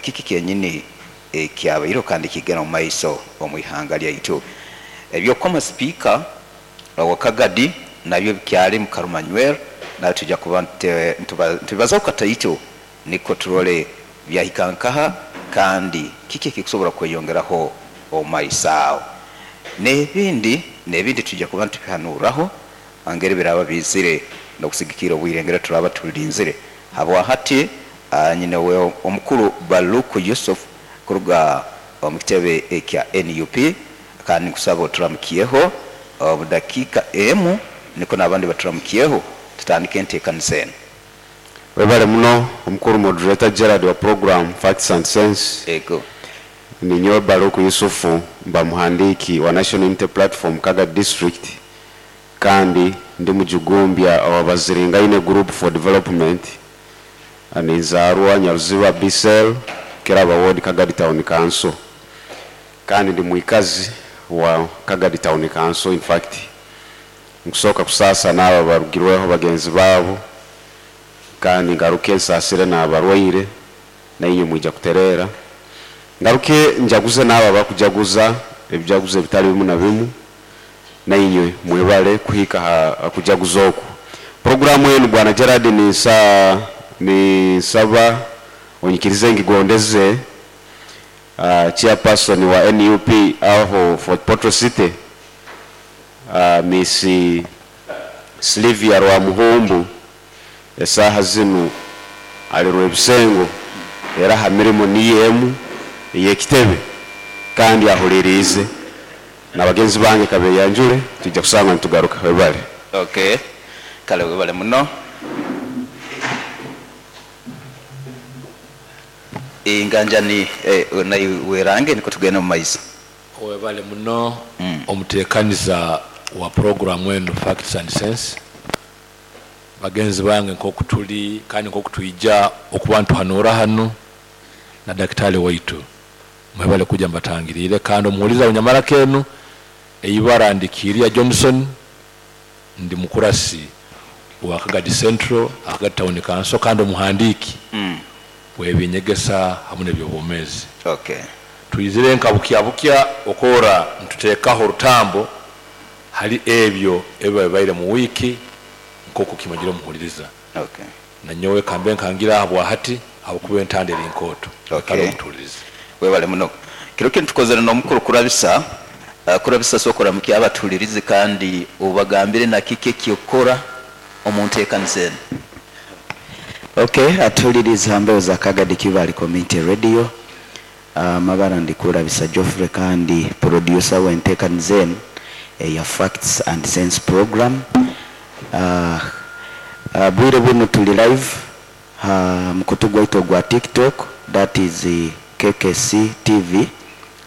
Kiki kyenyini ekyabaireho kandi kigenda mu maiso omu ihanga lyaitu. Eby'okukoma sipiika owa Kagadi nabyo bikyali mu Karumanyweri, nawe twija kuba nitubibazaho kataito nikwo turole byahika nkaha kandi kiki ekikusobora kweyongeraho omu maiso aho. N'ebindi n'ebindi twija kuba nitubihanuraho ngeri biraba biizire n'okusigikirra obwire ngeri turaba tulinzire. Habwa hati nyine we omukuru Baluku Yusuf kuruga omu kitebe ekya NUP, kandi nkusaba oturamukyeho omu dakiika emu nikwo n'abandi baturamukyeho tutandike enteekaniza enu. Webale muno omukuru moderator Gerald wa program Facts and Sense. Ego. Ninyowe Baluku Yusufu, mba muhandiiki wa National Unity Platform Kagadi District, kandi ndi mujugumbya owa Baziringaine Group for Development. Ninzaarwa Nyaruziba B Cell, Kiraba Ward, Kagadi Town Council. Kandi ndi mwikazi wa Kagadi Town Council. In fact, nkusooka kusaasa n'abo abarugirweho bagenzi baabo, kandi ngaruke nsaasire n'abarwaire, nainywe mwija kutereera. Ngaruke njaguze n'abo abakujaguza ebijaguzo ebitali bimu na bimu, nainywe mwebale kuhika ha kujaguza oku. Puroguramu enu Bwana Gerald ninsaba onyikirize ngigondeze chairperson wa NUP aho Fort Portal City, Miss Sylvia Rwamuhumbu, esaaha zinu ali Rwebisengo, era ha mirimo niyo emu ey'ekitebe kandi ahuliriize na bagenzi bange kabeyanjule, twija kusanga nitugaruka. Webale. Okay. Kale webale muno. Enganjani naiwe werange niko tugenda omu maiso. Webale muno omuteekaniza wa puroguramu enu Facts and Sense. Bagenzi bange, nk'oku tuli kandi nk'oku twija okuba ntuhanura hanu na dakitali waitu, mwebale kujja mbatangiriire. Kandi omuhuliza wenyamaraka enu, eibara ndi Kiria Johnson, ndi mukurasi wa Kagadi Central, Kagadi Town Council, kandi omuhandiiki w'ebinyegesa hamu n'ebyobwomeezi. Twizire nka bukya bukya okora nituteekaho orutambo hali ebyo ebiba bibaire mu wiiki nk'oku kimanyire omuhuliriza. Nanyowe kambe nkangira aha bwahati habwokuba entanda eri nkooto. Kale omutuulirize. Webale muno. Kiro kinu tukozere n'omukuru Kurabisa. Kurabisa, sooka oramukye abatuhulirize kandi obagambire na kiki ekyokukora omu nteekaniza enu. Okay, atuhuliriza mbeho za Kagadi Kibaale Community Radio. Amabara ndi Kurabisa Geoffrey kandi producer w'enteekaniza enu eya Facts and Sense program. Bwire buno tuli live ha mukutu gwaitu ogwa TikTok, that is KKC TV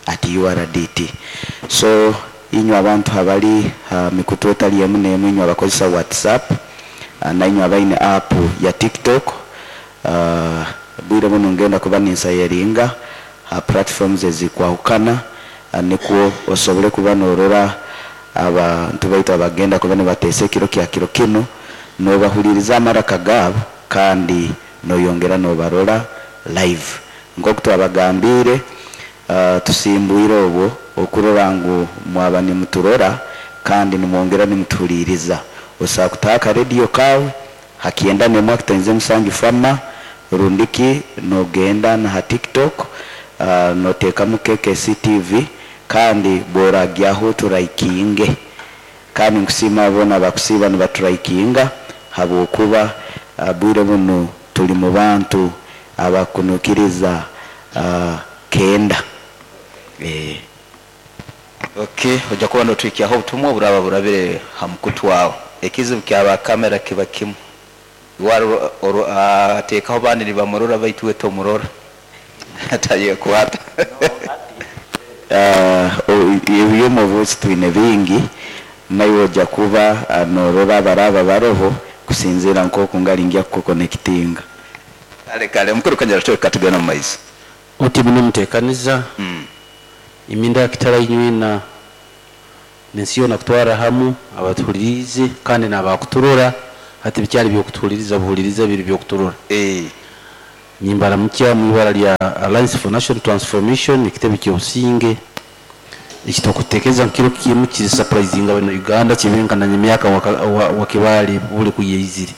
at URDT. So inywe abantu habali ha mikutu etali emu n'emu, inywe abakozesa WhatsApp, nainywe abaine app ya TikTok, bwire buno ngenda kuba ninsharinga ha platforms ezikwahukana, nikwo osobole kuba norora abantu baitu abagenda kuba nibateesa ekiro kya kiro kinu, nobahuliriza amaraka gaabo kandi noyongera nobarora live. Nk'oku twabagambiire, tusimbwire obwo okurora ngu mwaba nimuturora kandi nimwongera nimutuhuliriza. Osobola kutaha akarediyo kaawe ha 91.7 Fama, rundiki nogenda na ha TikTok, noteekamu KKC TV, kandi bworagyaho turaikinge. Kandi nkusiima boona abakusiiba nibaturaikinga, habwokuba bwire bunu tuli mu bantu abakunukiriza 90. Okay, ojja kuba notwikyaho obutumwa oburaba burabire ha mukutu wawe. Ekizibu kyaba kamera kiba kimu, ateekaho bandi nibamurora baitu we tomurora, tayekwata. Ebyomubuuzi twine bingi, naiwe ojja kuba norora abaraba baroho kusinziira nk'oku ngali ngya kukuconnectinga. Kale kale, mukuru Kanyara, tweka tugenda mu maiso. Oti bino muteekaniza iminda yakitara inywina nensi yoona kutwara hamu abatuhuliriize kandi n'abakuturora. Hati bikyali byokutuhuliriza buhuliriza, biri byokuturora. Nimbaramukya mu ibara lya Alliance for National Transformation, ekitebe ky'obusinge ekitokutekereza nkiro kimu kiri surprising abana Uganda kibenkana emyaka wakibale buli kuyeizire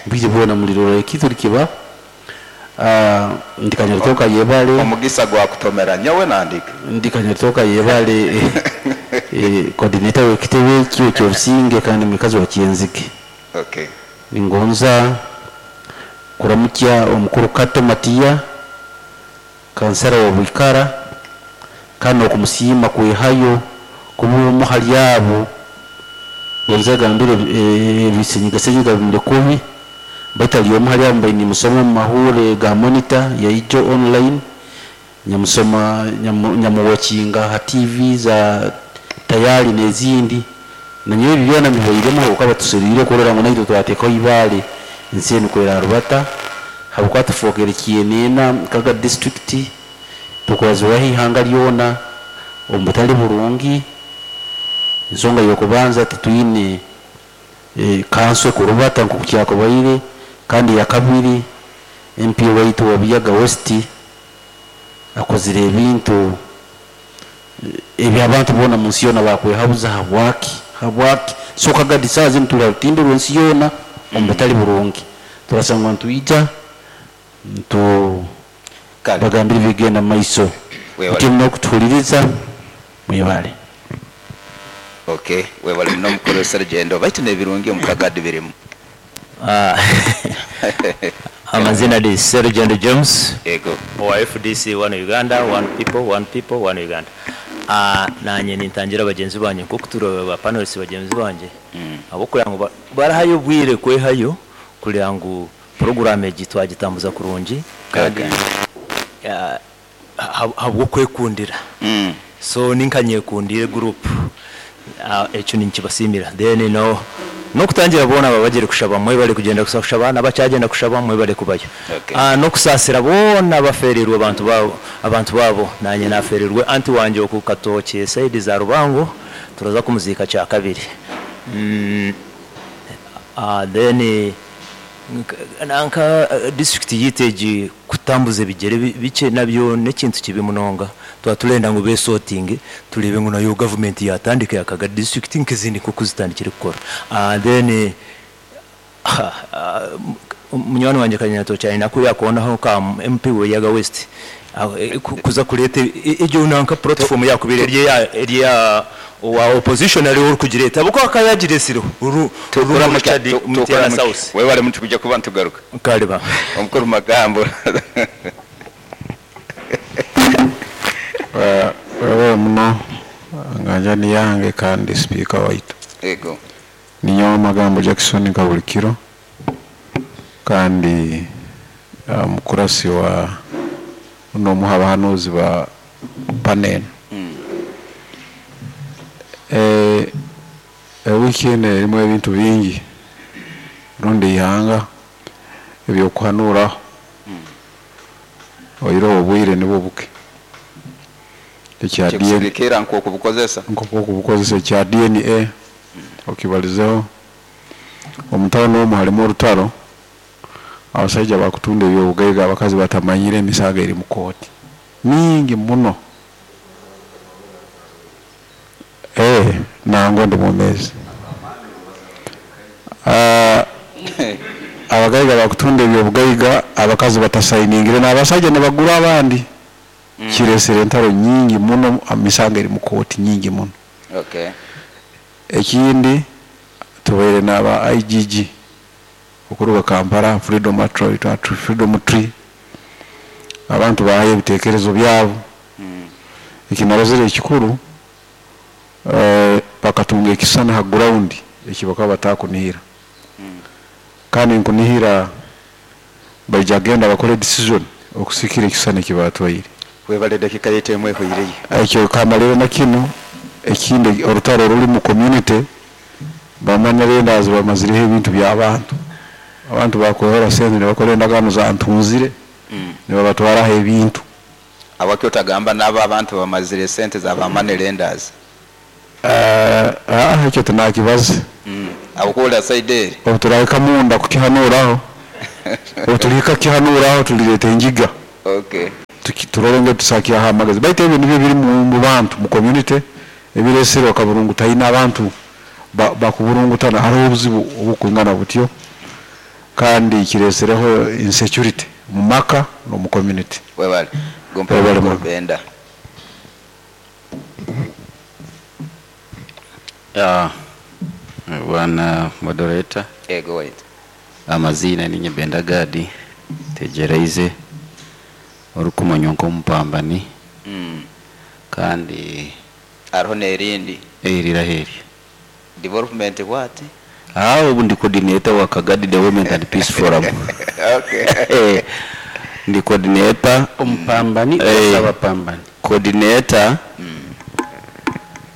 mbiri bona mulirora ekitu likiba ndikanyatoka yebale Omugisa gwa kutomera nyowe nandika. Ndikanyatoka yebale coordinator w'ekitebe kyo ky'obusinge kandi mukazi wa Kyenzike. Okay. Ningonza kuramukya omukuru Kato Matiya, kansara wa Bwikara, kandi okumusiima kwehayo kuba omu hali abo gonza gambire ebisenyigasenyiga bimire kubi, baitu ali omu hali abo mbaine nimusoma omu mahure ga Monitor ya Ijo online, nyamusoma nyamuwakinga ha TV za tayari n'ezindi, na nyowe ebi byona mbibairemu habwokuba tuserire kurora ngu naitwe twateekaho ibaale ensi enu kwera rubata, habwokuba tufookere kyenena nkaga district tukwazibwaho ihanga lyona omu butali burungi. Ensonga y'okubanza titwine kanso kurubata nk'oku kyakubaire, kandi ya kabiri MP waitu wa Buyaga West akozire ebintu eby'abantu boona mu nsi yoona bakwehabuza habwaki habwaki. So Kagadi saaha zinu tuli ha rutimbe rw'ensi yoona omu butali burungi, turasangwa nitwija ntu Kale. bagambire bigenda mu maiso. Webale. Mutima n'okutuhuliriza mwebale. Okay, webale muno mukuru Serugendo, baitu n'ebirungi omu Kagadi birimu. Amazina ni Serugendo James. Yego. Owa FDC One Uganda, One People, One People, One Uganda. Nanye nintangira bagenzi banje nko kutura ba panelists bagenzi banje. Abo kugira ngo barahayo bwire kwehayo kugira ngo program egi twagitambuza kurungi kandi habwo kwekundira. So ninkanyekundire group. Ekyo ninkibasimira. Then no nokutangira bona babagire kushaba mwe bali kugenda kushaba n'abacyagenda kushaba mwe bali kubayo. Nokusasira bona baferirwe abantu babo, abantu babo nanye naferirwe anti wanje okukatoke side za Rubango turaza kumuzika cya kabiri. Then nanka district yiteji kutambuza ebigere bice nabyo nekintu kibi munonga twaturenda ngo be sorting turebe ngo nayo government yatandika yakaga district nkizindi kuko zitandikire gukora. Then munywani wanje Kanyato cyane nako yakonaho ka MP we yaga West kuza kurete ejyo nanka platform yakubire rye wa opposition ari uri kugireta buko akayagiresiro uru Tukora Mutiana South. Wewe wale mtu kuja kuba ntugaruka. Kariba. Omukuru magambo. Wewe muno nganja ni yange kandi speaker waitu. Ego. Ninyo magambo Jackson Kabulikiro kandi mukurasi wa no muhabahanuzi ba panel. Weekend erimu ebintu bingi rundi ihanga ebyokuhanura oyiro obwire nibwo buke ekya DNA Kikusikira nko kubukozesa nko kubukozesa ekya DNA okibalizeho omutano omwo halimu orutaro abasajja bakutunda ebyobugaiga abakazi batamanyire emisaga eri mu kooti mingi muno. Nango ndi mumezi. Abagaiga bakutunda ebyobugaiga abakazi batasayiningire n'abasajja ne bagura abandi. Kiresere entaro nyingi muno emisango eri mu kooti nyingi muno. Okay. Ekindi tubaire n'aba IGG okuruga Kampala Freedom Tree, Freedom Tree abantu bahaye ebitekerezo byabo. Ekinarozere ekikuru bakatunga ekisana ha ground ekibaka batakunihira. Kandi nkunihira baija genda bakore decision okusikira ekisana ekibatwaire. Webale dakika yetu emwe huireye. Ekyo kamalero na kino ekindi orutaro ruri mu community bamanya lendazi bamazireho ebintu by'abantu. Abantu bakohera sente ne bakora endagaano za ntunzire ne babatwaraho ebintu. Abakyo tagamba nabo abantu bamazire sente za bamane lenders. Ekyo tunakibaze. Abukola side Obuturabika munda kukihanuraho. Obu tulihika kihanuraho tulireta engiga. Okay. Turole ngu tusakyaho amagezi, baitu ebyo nibyo biri mu bantu mu community ebiresere okaburungu taina abantu bakuburungutana, hariho obuzibu obukwingana butyo kandi kiresereho insecurity mu maka no mu community. Webale. Webale muno. Benda. Ya, bwana moderator. Ego wait. Amazina ninye Benda Gadi tegereize orukumanywa nk'omupambani. Kandi Hariho n'erindi. Eriraheri. Development what? Ubu ndi coordinator wa Kagadi Development and Peace Forum. Okay. Ndi coordinator. Omupambani abapambani. Coordinator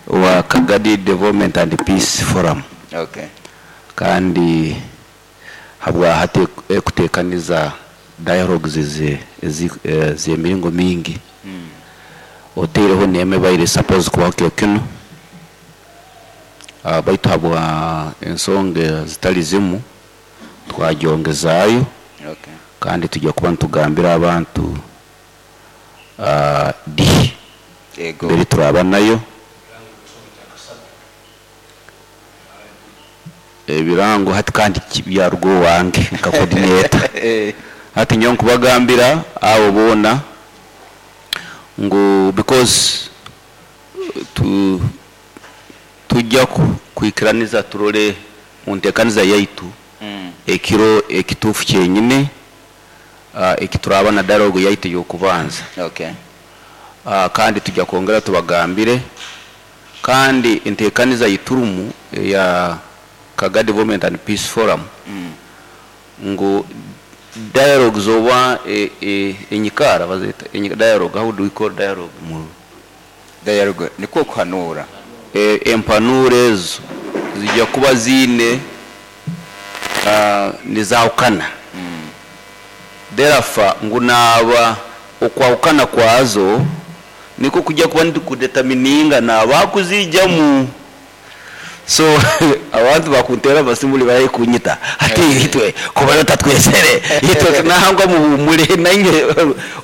wa Kagadi Development and Peace Forum. Okay. Kandi habwa hati kutekaniza dialogues z'emiringo mingi. Oteireho neme baire suppose kubaho kyo kino. Baitu habwa ensonga zitali zimu twagyongezayo. Okay. Kandi tujya kuba ntugambira abantu di. Ego. Mbere turaba nayo. Ebirango hati kandi byarugo wange nka coordinator. Hati nyo nkubagambira abo bona ngo because tujya kwikiraniza turole mu ntekaniza yaitu. Ekiro ekitufu kyenyine ekituraba na dialogue yaitu yokubanza. Okay. Kandi tujya kongera tubagambire kandi entekaniza yiturumu ya Kagadi Development and Peace Forum. Ngo dialogue zoba enyikara bazeta dialogue, how do we call dialogue mu dialogue niko kuhanura empanure ezo zijya kuba zine nizahukana. Therefore ngo naba okwahukana kwazo niko kujya kuba ndi kudetermininga naba kuzijyamu. So abantu bakuntera basimuli bari kunyita ati itwe kuba yotatwesere itwe nahangwa mu nanye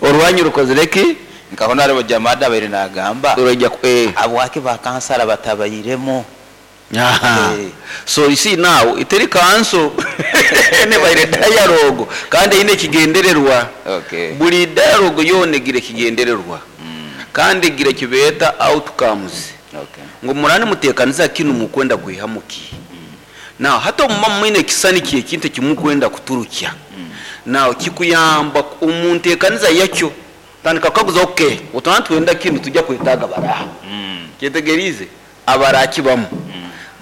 orwanyu rukozereki nkabona ari jamada bari nagamba urajya abo wake ba kansara batabayiremo. So you see now iteri kanso ne bayire dialogue kandi ine kigendererwa. Okay. Buri dialogue yone gire kigendererwa. Kandi gire kibeta outcomes. Okay. Ngo murane mutekaniza kinu mukwenda kuihamuki. Now hata mama mwine kisani kiye kinte kimukwenda kuturukya. Now kikuyamba umuntekaniza yakyo tandika kaguza okay utana twenda kinu tujya kwetaga baraha. Kyetegerize abaraki bamu.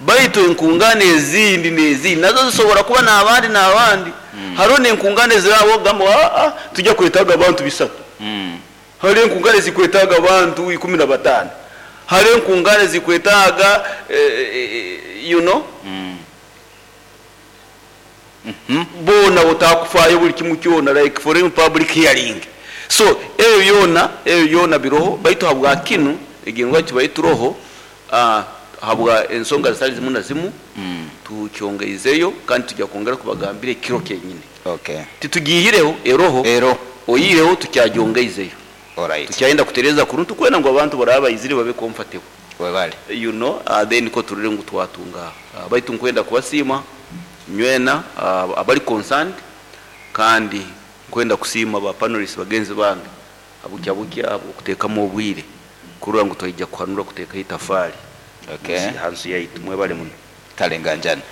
Baitu enkungane ezindi nezi nazo zisobora kuba nabandi nabandi. Haro nenkungane zirabo gamba tujya kwetaga abantu bisatu. Haro enkungane zikwetaga abantu 15. Haro enkungane zikwetaga you know. Bona utakufayo buli kimu kyona like foreign public hearing. So eyo yona biroho baitu habwa kinu egengwa kibaituroho habwa ensonga zitali zimu na zimu. Tukyongeizeyo kandi tujya kongera kubagambira kiro kenyine. Okay. Titugihireho eroho oyireho tukyajongeizeyo. Alright. Tukyayenda kutereza kuruntu kwena ngo abantu baraba iziri babe comfortable. Webale. You know, then ko turire ngo twatunga. Baitu nkwenda kubasima nywena abali concerned kandi nkwenda kusima ba panelists bagenzi bange abukya bukya okutekamo obwire kurura ngo toyijja kuhanura kuteka itafari. Okay. Hansu yaitu mwebale muno. Kalenganjana.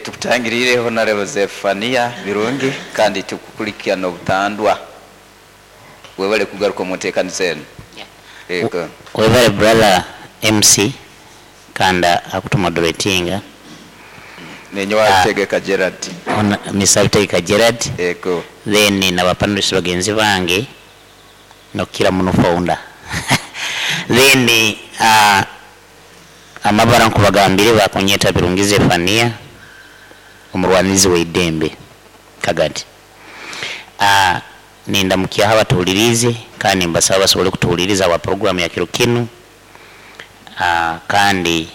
Tukutangirire Honorable Zephania Birungi kandi tukukulikia obutandwa. Webale kugaruka mu nteekaniza eno. Ego. Webale brother MC kanda akutumoderatinga. Nenyo wategeka Gerard. Mr. Tegeka Gerard. Ego. Then na bapanelists bagenzi bange nokira muno founder. Then amabara nkubagambire bakonyeta Birungi Zephania omurwanizi w'eidembe Kagadi. Ninda mukyaha abatuwulirize kandi mbasaba basobole kutuwuliriza wa program ya kiro kinu. Kandi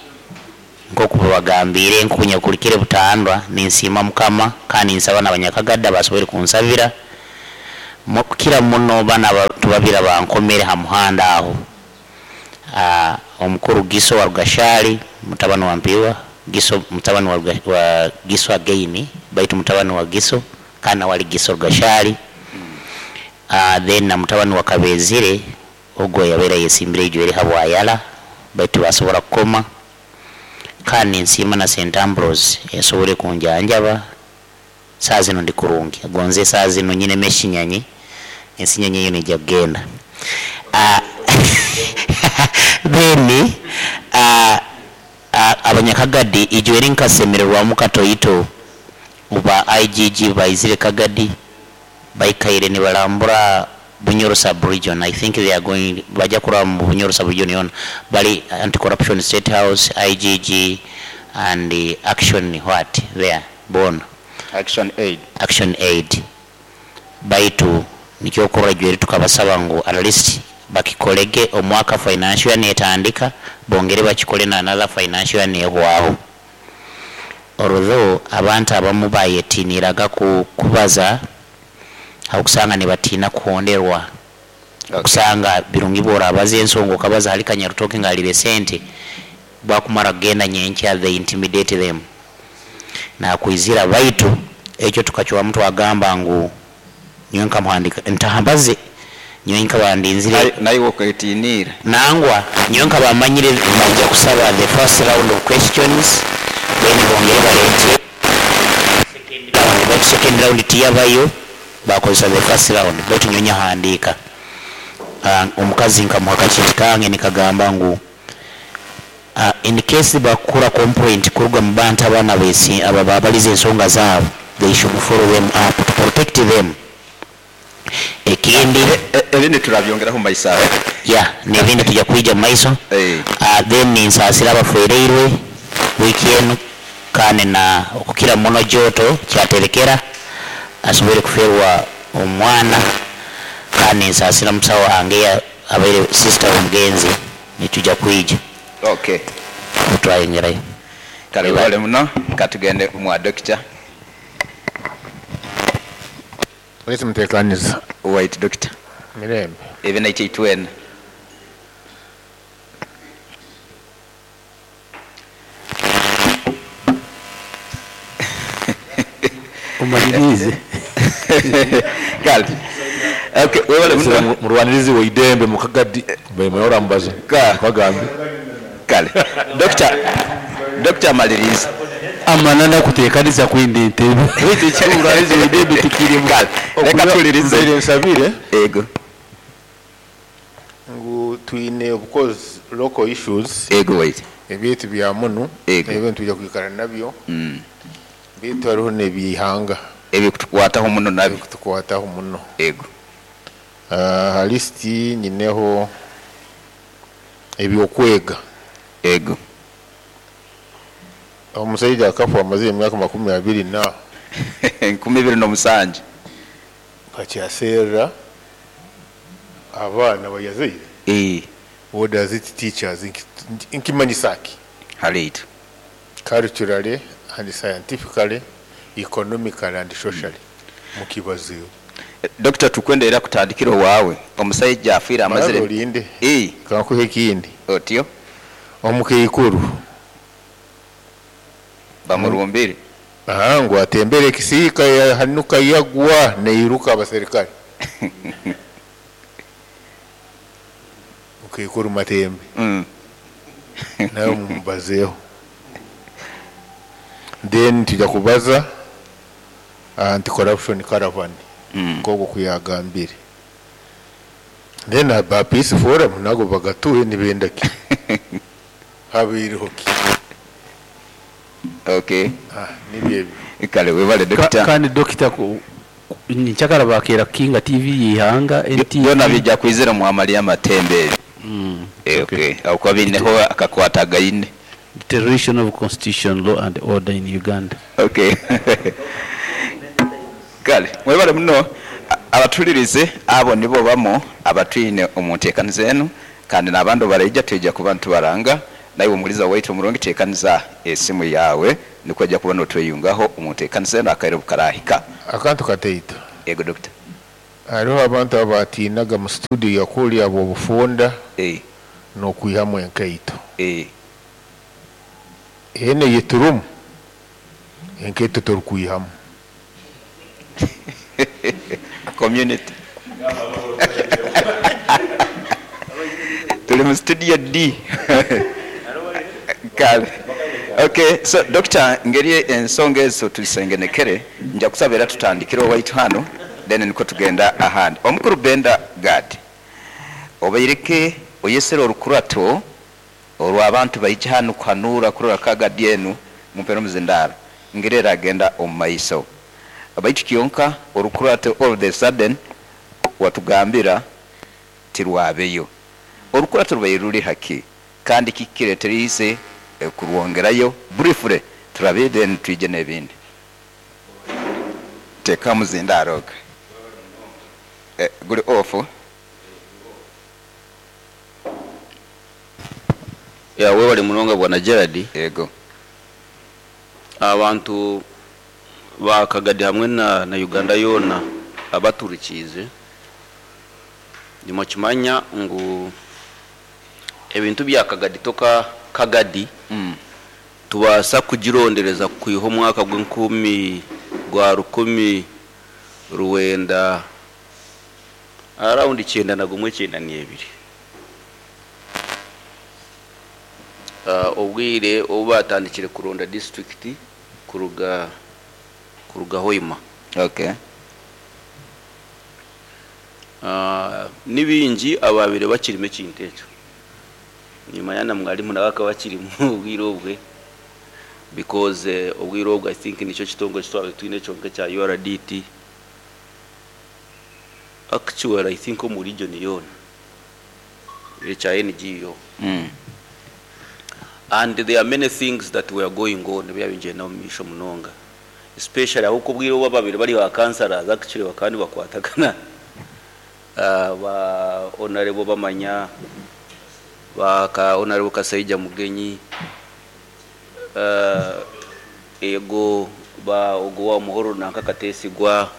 Nkoku babagambiire, nkunyakulikire butandwa, ninsiima Mukama kandi nsaba n'abanyakagadda basobole kunsabira. Kukira muno bana abantu babiri abankomere ha muhanda aho. Omukuru Giso wa Rugashali, mutabani wa Mpiwa, Giso mutabani wa Giso again, baitu mutabani wa Giso, kandi nawe ali Giso Rugashali. Then na mutabani wa Kabezire, ogwo yabaire ayesimbire ijwere habwayala, baitu basobora kukoma. Kandi nsiima na St. Ambrose yasobole kunjanjaba. Saa zino ndi kurungi. Gonze saa zino nyine meshinyanyi, ensinyanyi eyo nijja kugenda. Then abanyakagadi ijwere nkasemererwamu katoito uba IGG baizire Kagadi baikaire nibalambura Bunyoro sub-region. I think they are going baja kuraba mu Bunyoro sub-region yona. Bali anti-corruption state house, IGG and the action what there bona Action Aid. Action Aid. Baitu nikyo jweri tukabasaba ngu at least bakikolege omwaka financial year netandika bongere bakikole na another financial year nehwaho. Although abantu abamu bayetiniraga kubaza okusanga ne batiina kuhonderwa. Okusanga birungi bw'orabaza ensonga okabaza hali Kanyarutoke ng'alire sente bwakumara kugenda nyenkya they intimidate them. Nakwizira baitu ekyo tukacwamu twagamba ngu nyowe nkamuhandika ntahambaze nyowe nkabandinzire naye okwetinira nangwa nyowe nkabamanyire bajja kusaba the first round of questions then bongere balete second round, baitu second round tiyabayo bakozesa the first round baitu nyowe nyahandiika. Omukazi nkamuha akakiti kange nikagamba ngu in case bakura complaint kuruga mu bantu abaana besi aba babaliza ensonga zaabo they should follow them up to protect them. Ekindi ebindi turabyongeraho mu maiso aho. Yeah, n'ebindi tujja kwija mu maiso. Then nsaasira abafereirwe wiiki enu kandi na okukira muno Joto kyaterekera asobole kuferwa omwana kandi nsaasira musawo wange abaire sister omugenzi nitujja kwija. Okay. Twayongerayo. Kale wale muno katugende mwa doctor. Wait mutekaniza. Wait doctor. Mirembe. Even 881. Umalirize. Kale. Okay, webale muno. Murwanirizi wa idembe mukagadi bemeyora mbazo. Kwagambe. Kale. Doctor amalirize. Amanana kutekaniza kwindi entebe. Wete kimurwanirizi wa idembe tikiri. Kale. Reka tulirize. Nzere nsabire. Ego. Ngu twine of course local issues. Ego wait. Ebintu bya muno. Ego. Ebintu tujja kwikara nabyo. Bitu hariho n'ebihanga. Ebikutukwataho muno nabyo. Ebikutukwataho muno. Ego. Ha listi nyineho ebyokwega. Ego. Omusajja akafa amaze emyaka 20 na 27. Kakyaseera abaana bayazaire. What does it teach us? Nkimanyisaki. Halitu. Culturally and scientifically, economically and socially. Mukibaziyo. Doctor tukwende era kutandikira waawe. Omusajja afiira amazire. Olinde. Kankuhe ekindi. Otyo. Omukeikuru. Bamurumbire. Ngu atembere ekisiika yahanuka yagwa neiruka abaserikale. Mukeikuru Matembe. Nawe mumubazeeho. Then tujja kubaza anti-corruption caravan. Nk'ogwo kuyagambire. Then aba peace forum nago bagatuye nibendaki. Habiiriho ki? Okay. Nibyo ebyo. Kale webale doctor. Kandi doctor nchakara bakera Kinga TV yihanga NTV. Byona bijja kwizira mu Amalia Matembe. Okay. Aho bineho akakwata gaine. Deterioration of constitution, law and order in Uganda. Okay. Kale mwebale muno abatulirize abo nibo bamo abatwine omuntekaniza eno kandi n'abandi baraija tujja kuba ntubaranga Naiwe omuhuliza waitu omurungi teekaniza esimu yaawe nikwo ojja kuba notweyungaho omu nteekaniza enu akaire obukarahika. Akantu kataito. Ego Doctor. Hariho abantu abatinaga mu studio kuli ab'obufunda n'okwihamu enkaito. Enu eyeturumu enkaito torukwihamu. Community. Tuli mu studio D. Kale. Okay, so Doctor, ngeri ensonga ezo tuzisengenekere, nja kusaba era tutandikire owaitu hanu, then nikwo tugenda ahandi. Omukuru Benda Gad, obaireke oyesere orukurato orw'abantu baija hanu kuhanuura kurora Kagadi enu mumpere omuzindaaro ngeri eragenda omu maiso. Baitu kyonka orukurato all the sudden watugambira tirwabeyo. Orukurato rubaire ruri haki kandi kiki kireteriize kurwongerayo? Briefly turabe then twije n'ebindi. Teekaho omuzindaaro ogwo. Guri off. Yeah, webale munonga Bwana Gerald. Yego. Abantu ba Kagadi hamwe na Uganda yoona abaturikiize, nimukimanya ngu ebintu bya Kagadi toka Kagadi tubaasa kugirondereza kwiha omwaka gw'enkumi gwa rukumi rwenda around kyenda na gumwe kyenda n'ebiri. Obwire obu baatandikire kuronda disiturikiti kuruga kuruga Hoima. Ni baingi abaabaire bakirimu ekintu ekyo. Nimanya na mwarimu nawe akaba akirimu obwire obwe because obwire obwe I think nikyo kitongore eki twabaire twine kyonka ekya URDT. Actually I think omu region yoona ekya NGO. And there are many things that were going on ebyaba nibigyenda omu maisho munonga especially ahabw'okuba obwire obu ababaire bari ba councillors actually bakaba nibakwatagana ba Honourable Bamanya, ba ka Honourable Kasaija Mugenyi, ego ba ogu owa Muhororo nanka Katesigwa,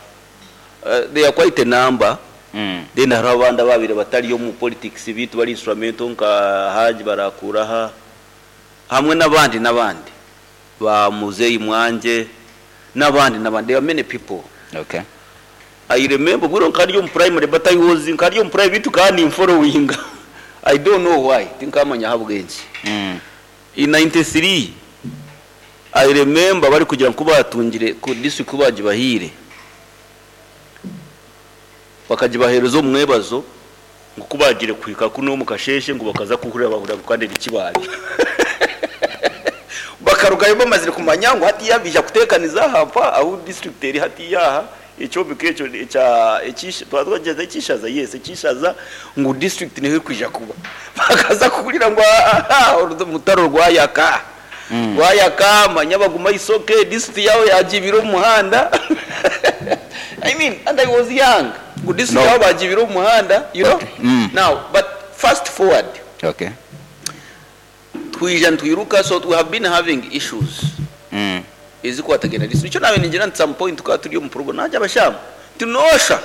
there are quite a number. Then hariho abandi ababaire batari omu politics beitu bari instrumental nka Hajj Barakuraha hamwe n'abandi n'abandi ba Muzeyi Mwangye n'abandi n'abandi. There are many people. I remember obwire nkaba ndi omu primary but I was nkaba ndi omu primary beitu nkaba ninforowinga I don't know why tinkamanya ahabw'enki. In 93 I remember barikugira ngu kubatungire ku district kubagibahaire bakagibaheereza omu mwebazo ngu kubagiire kuhika kunu omu kasheeshe ngu bakaza kuhurira bahurira ngu kandi eri Kibaale. Bakarugayo bamazire kumanya ngu hatiiya baija kuteekaniza aha mpa ahu district eri hatiiya aha ekyombeko ekyo ekya twaba ekishaza yes ekishaza ngu district niho erikwija kuba. Bakaza kuhurira ngu ahaa orutaro rwayaka. Rwayaka manya baguma isoke district yaabo yagiibire omu muhanda. I mean and I was young ngu district yaabo bagiibire omu muhanda you know. Now but fast forward. Twija nitwiruka so we have been having issues ezikwatagaine na district. Nikyo naabaire ningira nti some point tukaba turi omu program naagira abashamu nti noosha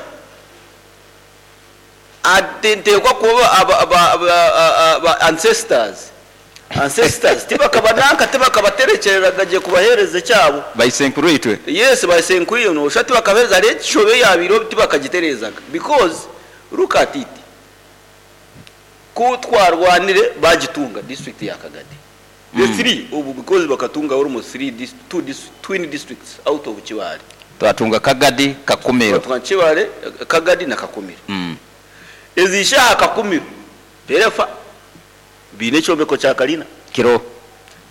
ati nteekwa kuba aba ancestors ancestors tibakaba nanka tibakabaterekyereraga gye kubaheereza ekyabo. Baisenkuru itwe. Yes, baisenkuru itwe noosha tibakabaheereza hariho ekishobe eyabaireho tibakagitereezaga because look at it ku twarwanire bagitunga district ya Kagadi the three obu because bakatunga almost three two twin districts out of Kibaale. Twatunga Kagadi, Kakumiro. Twatunga Kibaale, Kagadi na Kakumiro. Ezi shaaha Kakumiro terefa baine ekyombeko kya kalina. Kiro.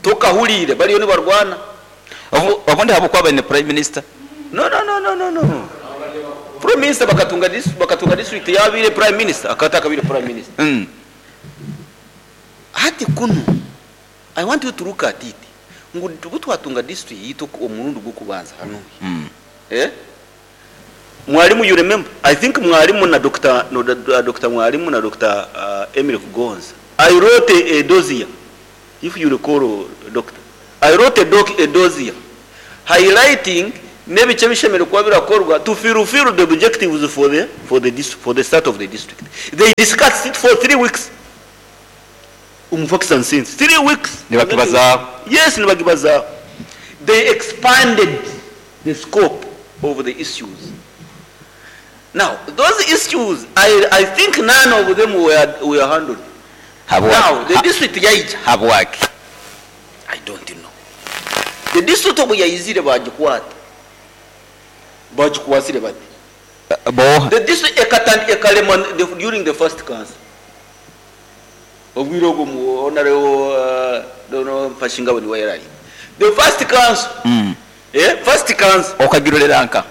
Tokahuriire bariyo nibarwana. Obundi ahabw'okuba baine Prime Minister. No no no no no no. Prime Minister bakatunga bakatunga district yabaire Prime Minister akaba atakabaire Prime Minister. Hati kunu I want you to look at it ngu obu twatunga district yaitu omurundi gw'okubanza hanuya eh Mwalimu you remember I think Mwalimu na Doctor no Doctor Mwalimu na Doctor Emily Kugonza I wrote a dossier. If you recall, doctor, I wrote a, doc, a dossier highlighting n'ebice ebishemereire kuba birakorwa to fulfill the objectives for the start of the district. They discussed it for 3 weeks omu Facts and Sense, 3 weeks. Nibakibazaaho. Yes, nibakibazaaho. They expanded the scope of the issues. Now those issues, I think none of them were handled. Now the district yaija. Habwaki? I don't know. The district obu yaizire, bagikwata, bagikwasire bati. Bo. The district ekalema during the first council. Obwire obwo mu honorable dono Mfashingabo niwe yarari the first council. First council. Okagirolera nka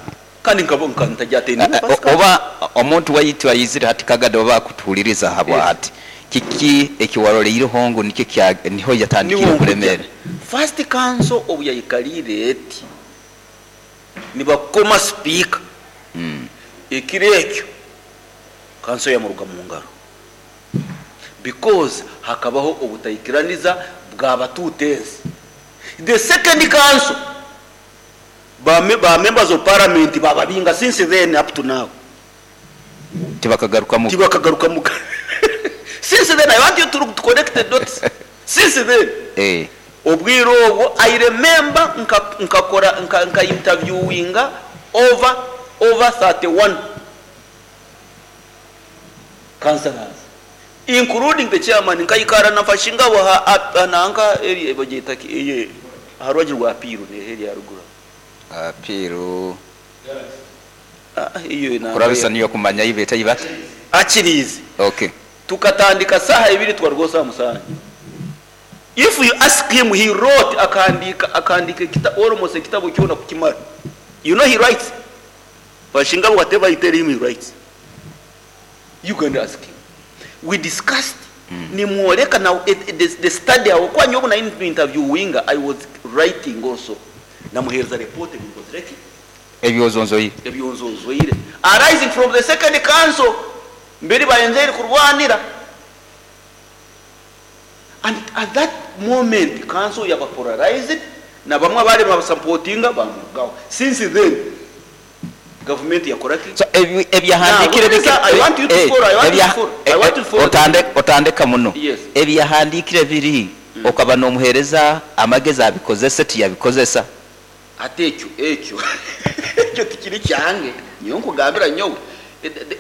kandi nkabo ntajatenda. Oba omuntu waitu ayizire hati Kagado, oba akutuhuliriza habwa hati kiki ekiwaroleireho ngu nikyo niho yatandikire Niho. Okulemera. First council obu yayikalire eti, nibakoma speaker. Ekiro ekyo council yamuruga mu ngaro because hakabaho obutaikiraniza bw'abatuutezi. The second council, ba members of parliament bababinga. Since then up to now Tibakagarukamu. Tibakagarukamu. Since then, I want you to connect the dots. Since then, obwire obwo I remember nkakora nka interviewinga over 31 councillors, including the chairman. Nkayikara nafashingabo nanka eri bagita ki eye harwaji rwa Piru ne eri haruguru. Piru. Ah, iyo na Kurabisa niyo kumanya ibeta ibata. Akirizi. Okay. Tukatandika saha 2, twarwo saa 7. If you ask him, he wrote, akandika almost ekitabo kyona kukimara. You know he writes Bashingabo, whatever you tell him, he writes. You can ask him. We discussed, nimwoleka now the study awo kwa nyobo na interviewinga. I was writing also. Namuhereza report ebinkozireki. Ebyozonzoire. Ebyonzonzoire arising from the second council mbere bayenzeri kurwanira. And at that moment council yaba polarized na bamwe abari babasupportinga bamugaho. Since then government yakoraki? So ebyahandikire Now, I want you to follow, I want you to follow, I want you to follow. Otandeka muno. Yes. Ebyahandikire biri okaba n'omuhereza amagezi abikozese, tiyabikozesa. Ate ekyo tikiri kyange. Niyo nkugambira nyowe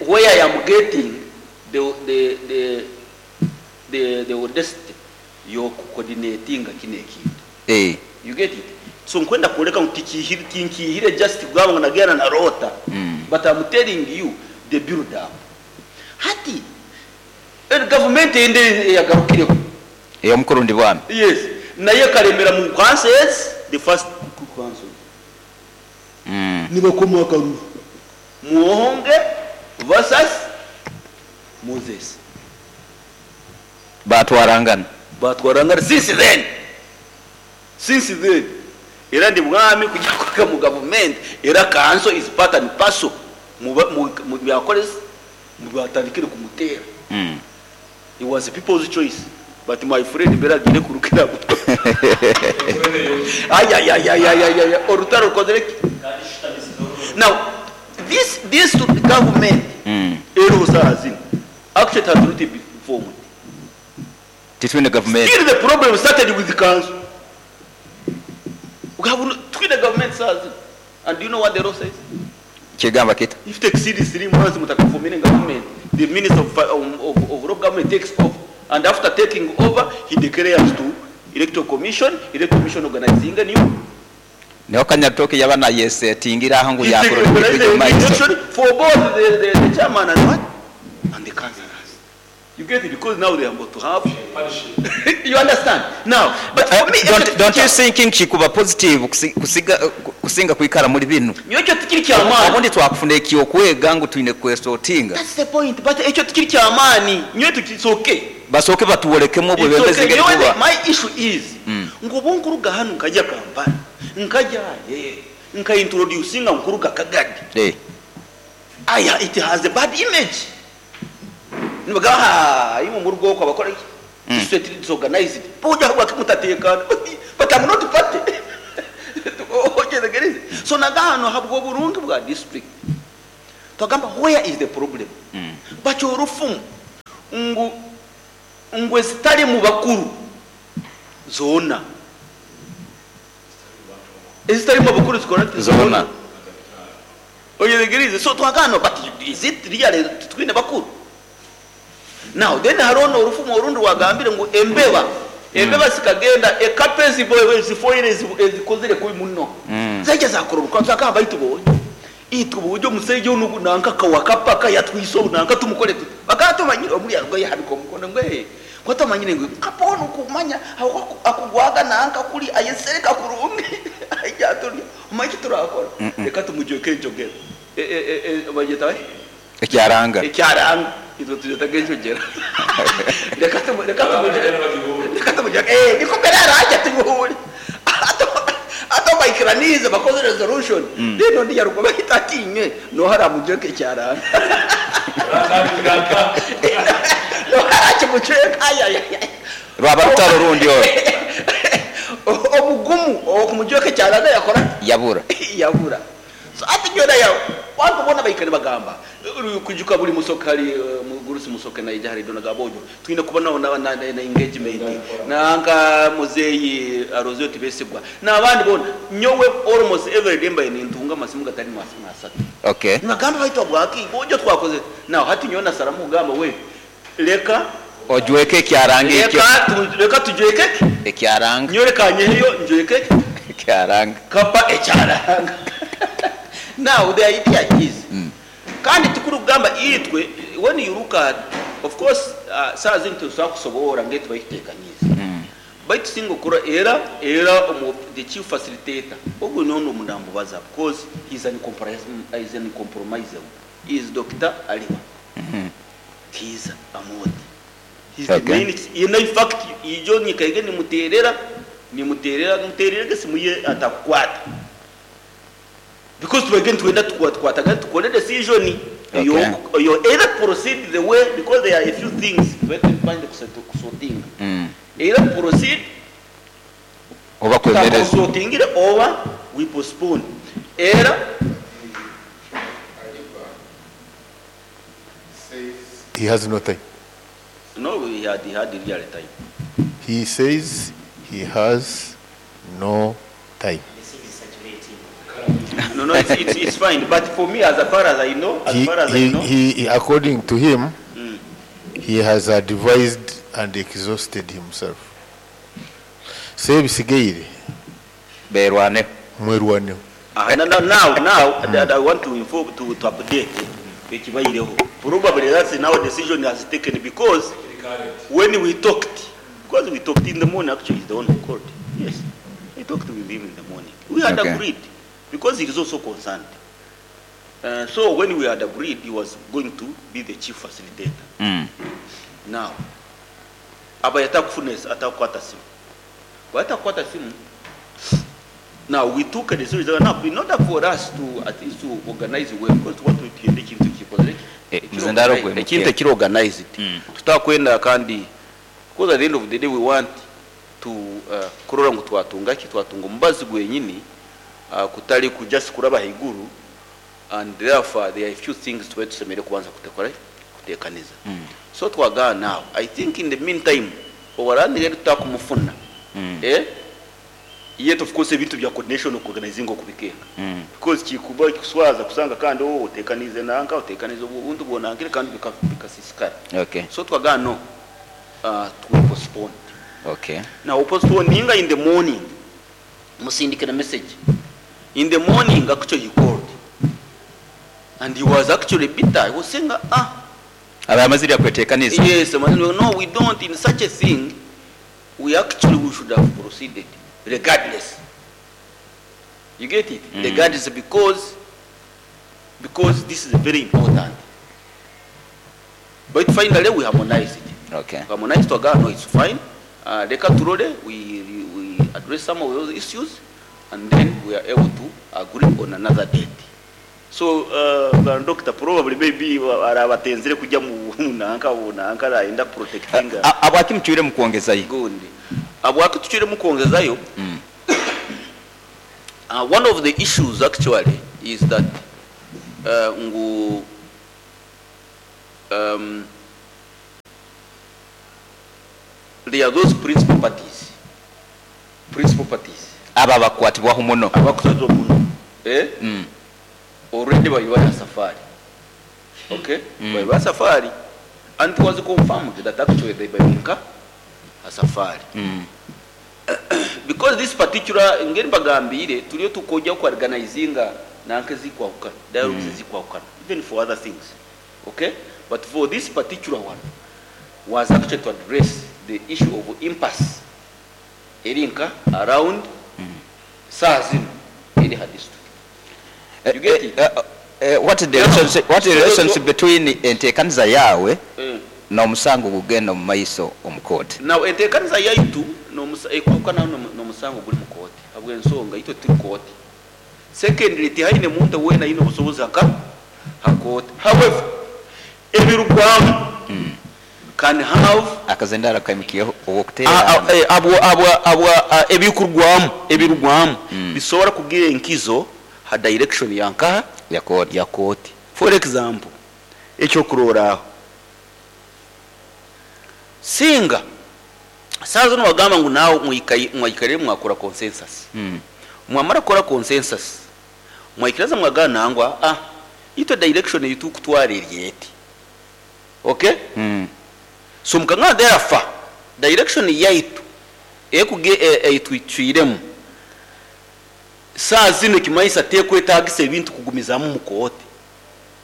where I am getting the audacity yokucoordinatinga kino ekintu. You get it? So nkwenda kuleka ngu tikihire, tinkihire just kugamba ngu nagenda na rota. But I'm telling you the build up. Hati government ende yagarukireho. Ey'omukurundi bwami. Yes, naye karemera mu councils. The first council, nibakoma akaruru, Muhonge versus Moses. Batwarangana. Batwarangana. Since then era ndi mwami kujya kuka mu government, era council is part and parcel mu byakoresa mu batandikire kumutera. It was the people's choice, but my friend mbere agire kurukira ayayayayayaya orutaro rukozere. Now this government ero zazino actually it has not been formed. Titwine government. Still the problem started with the council. We have twine government sazi. And do you know what the law says? Kigamba kita? If it exceeds 3 months mutakaforming government, the minister of local government takes over, and after taking over he declares to electoral commission, electoral commission organizing a new Niho Kanyatoke yaba nayesetingira aho ngu He yakora organized ekyo the maiso. election for both the chairman and what and the councillors. You get it? Because now they are about to have, you understand now? But for me, Don't you thinking kikuba positive kusinga kwikara muri bino? Ekyo tikiri kyamaani. Obundi twakufuna ekyokwega ngu twine kwesotinga. That's the point, but ekyo tikiri kyamaani nyowe it's okay. Basooke batuwolekemu It's obwebembezi okay. ngeri Nyowe kuba. My issue is ngu obu nkuruga hanu nkajya Kampala, nkajya nkaintroducinga nkuruga Kagadi, aya it has a bad image. Nibaga imwe mu rugo ko abakora iki. district disorganized. Boja wakimutatekana, but I'm not party. Otegereze. So nagano habwo burungi bwa district. Twagamba where is the problem? Bacho orufumu ngu ngwe zitali mu bakuru zona. Ezitali mu bakuru zikora Zona. Otegereze. So twagano, but is it really twine bakuru? Now then harono orufumu orundi wagambire ngu embeba embeba sikagenda ekape zifoire ezikozire kubi muno. Zaija zakororuka zakaba baitu bonye itwe uburyo musejo nugu nanka kawakapaka yatwiso nanka tumukore tuti bakatumanyira omuri yarwo yahabika omukono ngwe kwatamanyire ngwe kapono kumanya akugwaga nanka kuri ayesereka kurungi ajya turi umaki turakora reka tumujyoke njogera bageta we Ekyaranga. Ekyaranga itwe tujeta genjogera reka tumujyoke niko mbere arajya tumuhure ato bayikiranize bakoze resolution. Rero ndi yaruko bahitatinye no haramujoke cyaranga no harakimuceka aya Rwaba rutaro rundi yo omugumu okumujoke cyaranga yakora yabura yabura. So ati nyona ya wantu bona bayikane bagamba kujuka buri musokari mugurusi musoke na ijahari dona gabojo twine kubona na engagement nanka muzeyi arozyo tibesigwa nabandi bona nyowe almost every day mbaye nintunga masimu gatari masimu asatu. Okay. Nagamba baitwa bwaki bojo twakoze now hati nyona saramu gamba we leka ojweke kyaranga ekyo leka tujweke ekyaranga nyoreka nyeyo njweke ekyaranga kapa ekyaranga. Now the idea is kandi tukurugamba itwe when you look at of course saa zintu twakusobora ngetu bayitekanyiza baitu singo kura era the chief facilitator ogwo nono mundambo baza because he's an compromisable. He is Dr. Aliwa. He's Amodi. He's the main, in fact ijo nyikaige nimuterera gesimuye atakwata because we again tuenda tukwataga tukole decision. Okay. You either proceed the way because there are a few things we can find kusorting. Either proceed oba kwemereza sorting over we postpone. Either says he has no time. No, he had real time. He says he has no time. No, it's fine. But for me, as far as I know, he according to him, he has advised and exhausted himself. Sebisigeire berwane mwerwane. Now I want to inform to update. Probably that's now decision has taken because when we talked, in the morning, actually he's the one who called. Yes, I talked with him in the morning. We had agreed. Because he is also concerned. So when we had agreed, he was going to be the chief facilitator. Now, now we took a decision. Now, in order for us to at least to organize well, because what we did organize it. Because at the end of the day we want to kurora ngu twatunga ki twatunga omubazi gwenyini kutali kujust kuraba higuru, and therefore there are a few things to tusemere kubanza kutekora kutekaniza. So twaga now I think in the meantime owarandire tutakumufuna yet of course ebintu bya coordination organizing okubikeka because kikuba kuswaza kusanga kandi otekanize nanka otekanize ubuntu bonankire kandi bikasisikara. Okay. So twaga no to postpone. Okay. Now postponinga in the morning musindike na message. In the morning, actually, he called. And he was actually bitter. He was saying, Yes, no, we don't. In such a thing, we should have proceeded, regardless. You get it? Regardless, because this is very important. But finally, we harmonized it. Okay. Harmonized to no, it's fine. We address some of those issues, and then we are able to agree on another date. So, Doctor, probably maybe arabatenzere kujya mu Ngu nanka nanka arayenda kuprotectinga. Habwaki mucwiremu kwongezayo? Gundi habwaki tucwiremu kwongezayo? One of the issues actually is that ngu there are those principal parties, principal parties. Aba bakwatibwaho muno. Abakwatibwaho muno, eh? Already bali baya safari, okay? Bali ba safari, and it was confirmed that actually they balinka a safari. Because this particular ngeri bagambire tuliyo tukojja ku organizinga nanke zikwahukana, dialogues zikwahukana, even for other things, okay? But for this particular one was actually to address the issue of impasse erinka around saa zino eri ha district. You get it? What is the relationship, what is the relationship between enteekaniza yawe n'omusango gugenda mu maiso omu kooti? Now enteekaniza yaitu ekwahukana n'omusango guri mu kooti habw'ensonga itwe turi kooti. Secondly, tihaine muntu weena aine obusobozi haka ha kooti. However, ebirugwamu can have akazendara kaimukiyeho ow'okuteera. Ebikurwamu, ebirugwamu bisobora kugira enkizo ha direction yankaha ya kooti. Ya kooti. For example, ekyokuroraaho, singa saa zino wagamba ngu naawe mwaikarire mwakora consensus. Mwamara kukora consensus, mwaikiriza mwagana nangwa itwe direction yitukutwara eri eti, okay? So mukangana therefore direction yaitu ekuge eitwicwiremu saa zino kimaisa tekwetagisa ebintu kugumizamu mu kooti.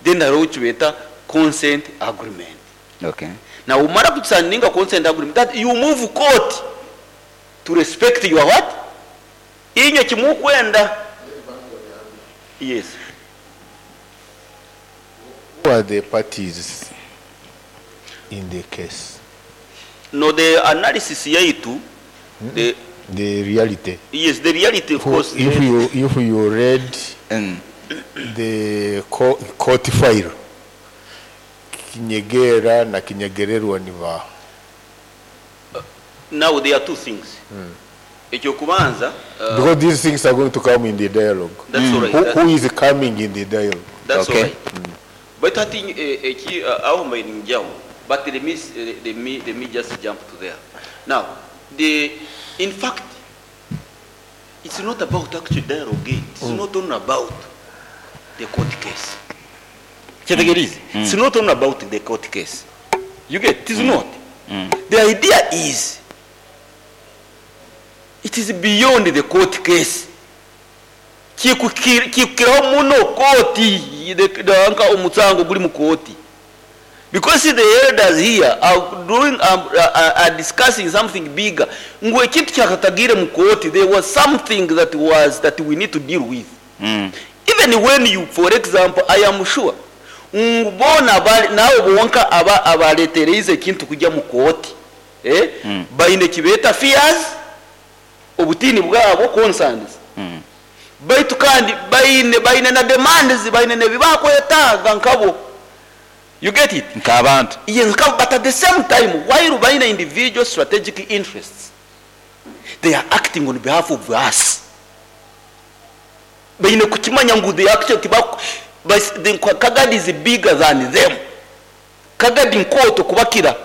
Then hariho kibeta consent agreement. Now umara kusaninga consent agreement, that you move court to respect your what? Inyo kimukwenda. Yes. Who are the parties in the case? No, the analysis yaitu, the The reality. Yes, the reality, of Who, course. If you read the court file, Kinyegera na Kinyegererwa ni ba. Now there are two things. Ekyokubanza, because these things are going to come in the dialogue. That's all right. Who is coming in the dialogue? That's all right. But I think eki aho mbayirinjaho. But let me just jump to there. Now, in fact, it's not about actual dialogue. It's not only about the court case. It's not only about the court case. You get it? It's not. The idea is, it is beyond the court case. Kikukiraho muno koti, the omusango guri mu koti. Because the elders here are doing, are discussing something bigger. Ngwe kintu kyakatagire mu koti, there was something that was that we need to deal with. Even when you, for example, I am sure, ngubona bali nawe bonka aba abaletereze kintu kujya mu koti. Baine kibeta fears, obutini bwabo concerns. Baitu kandi baine na demands, baine ne bibakwetaga nkabo. You get it? Nkabantu. Yes, nkabo, but at the same time, while baine individual strategic interests, they are acting on behalf of us. Baine kukimanya ngu they actually the Kagadi is bigger than them. Kagadi nkoto kubakira.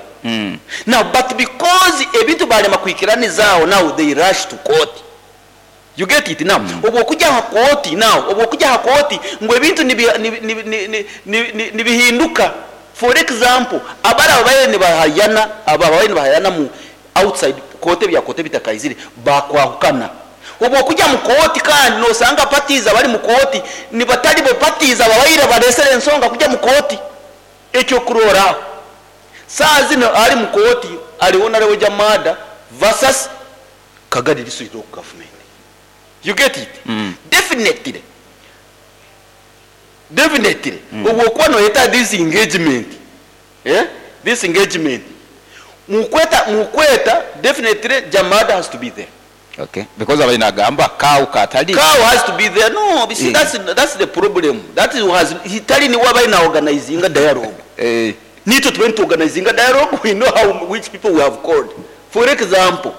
Now, but because ebintu balema kuikiranizaho, now they rush to court. You get it now? Obwo kujya ha court now, obwo kujya ha court ngo ebintu nibihinduka. For example, abara babaye ni bahayana, aba babaye ni bahayana mu outside court bya court bitakaizire bakwahukana. Obwo kujya mu court kandi no sanga parties abari mu court ni batari bo parties ababayira baresere ensonga kujya mu court. Ekyo kurora saa zino ari mu court ari honorable Jamada versus Kagadi district of government. You get it? Definitely. Definitely. Obwo kuba no yeta this engagement. This engagement. Mukweta definitely Jamada has to be there. Okay. Because abalina gamba cow katali. Cow has to be there. No, you see, that's the problem. That is has hitali ni wabaina organizing a dialogue. Nitwe tube nituorganizinga dialogue, we know how which people we have called. For example,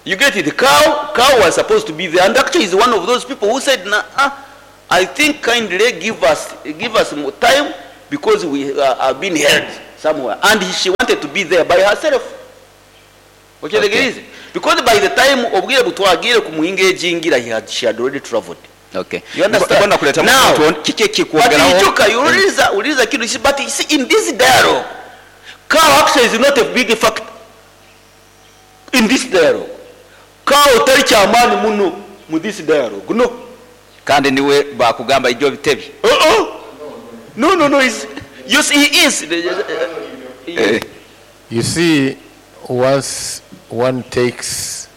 you get it, cow was supposed to be there, and actually is one of those people who said, nah, I think kindly give us more time because we are being held somewhere. And she wanted to be there by herself. Okay, okay. Because by the time obwire butwagire kumuengageingira, she had already traveled. Okay. You understand? Now, Now, but you uliza kitu, but you see, in this dialogue, cow actually is not a big factor. In this dialogue, cow tari chamani muno mu this dialogue. No. Kandi niwe bakugamba ibyo bitebi. No, no, no, he's, you see, he is. You see, once one takes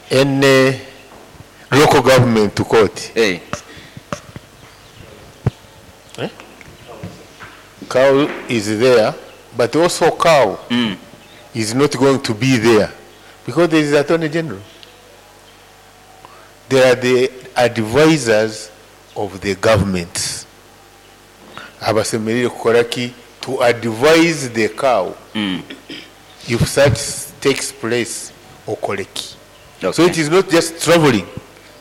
any local government to court, hey. Eh? Cow is there, but also cow is not going to be there because there is Attorney General. There are the advisors of the governments. Abasemerire kukoraki to advise the cow if such takes place okoleki. Okay. So it is not just traveling,